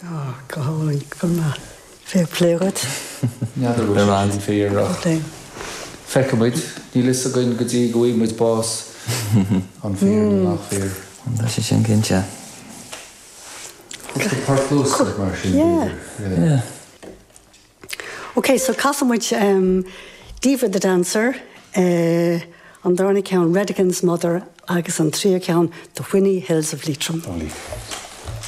Oh, go hálainn, go maith. Fair play dhuit. N'fheadar bhfuil sé sin fíor ach feicfidh muid. Níl fhios againn go dtí go bhfaighidh muid bás an fíor nó nach fíor. Tá sé sin cinnte. Cúpla port luascach mar sin b'fhéidir. Yeah. Ok, so casfaidh muid Diva the Dancer, an darna ceann Redigan's Mother agus an tríú ceann The Whinney Hills of Leitrim. Oh, Leitrim.